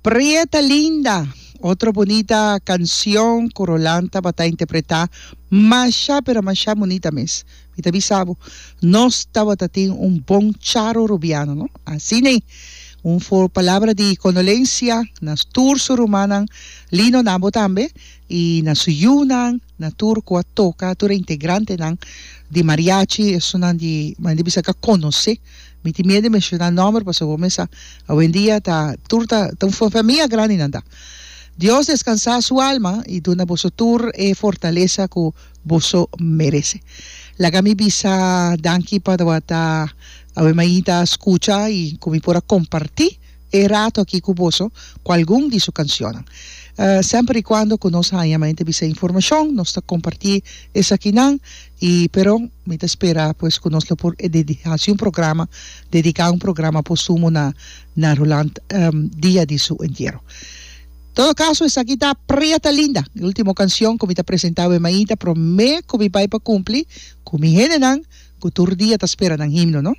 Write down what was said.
Prieta Linda, otro bunita cancion cu Roland tabata interpreta masha pero masha bunita mes. Mi ta bisa bo, nos tabata tin un bon Charo Rubiano, no? Asina ei. Un for palabra di condolencia na tur su rumannan, Lino na bo tambe, y na su yunan, na tur cu a toca, tur e integrantenan di mariachi, esunnan di, mi ta bisa cu a conoce. Mi tin miedu di menciona nomber pasobra bo mes sa awendia ta tur ta ta un famia grandi nan ta. Dios descansa su alma y duna boso tur e fortalesa cu boso merece. Laga mi bisa danki pa tabata awe mainta scucha y cu mi por a comparti e rato aki cu boso cu algun di su cancionnan. Semper y cuando cu nos haña mainta bisa informacion nos ta comparti esakinan y pero mi ta spera pues cu nos lo por haci un programa dedica un programa postumo na na Roland dia di su entiero. Todo caso esaki ta Prieta Linda e ultimo cancion cu mi ta presenta awe mainta prome cu mi bay pa cumpli cu mi hendenan cu tur dia ta spera nan himno no.